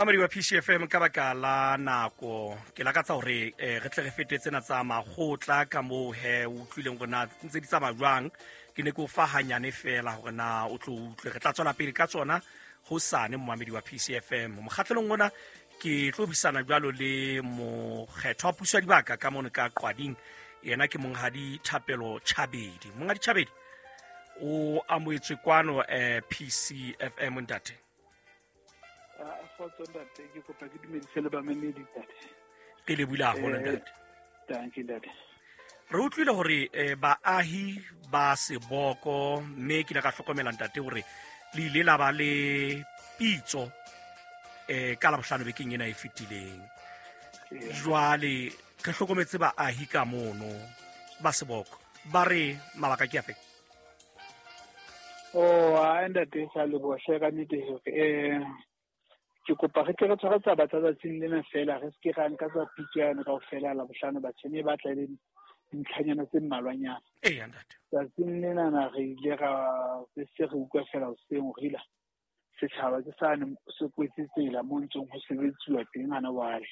Mamedi wa PCFM, ka baka la nako ke lakatsa hore re tle re fete tsena tsa makgotla ka moo he o utlwileng hore na ntse di tsamaya jwang. Ke ne ke o fa hanyane fela hore na o tlo utlwe. Re tla tswela pele ka tsona hosane, momamedi wa PCFM. Mokgatlelong ona ke tlo buisana jwalo le mokgetho wa puso ya dibaka ka mono ka Qwading. Yena ke Monghadi Thapelo Chabedi. Monghadi Chabedi, o amoetswe kwano PCFM, ntate. Kgotso ntate, ke kopa ke dumedise le bamamedi, ntate. Ke le bula haholo, ntate. Dankie, ntate. Re utlwile hore baahi ba Seboko, mme ke ile ka hlokomela, ntate, hore le ile la ba le pitso ka Labohlano bekeng ena e fetileng. Jwale re hlokometse baahi ka mono ba Seboko ba re mabaka ke afe? Oh, a ntate, sa leboha hle ka nnete hore ke kopa re tle re tshware taba tsa tsatsing lena fela, re se ke ra nka tsa pitso yane kaofela Labohlano batjheng, e batla e le dintlhanyana tse mmalwanyana. Eya, ntate. Tsatsing lenana re ile ra re se re utlwa fela hoseng hore ila setjhaba ke sane se kwetse tsela mo ntseng ho sebetsuwa teng hana jwale.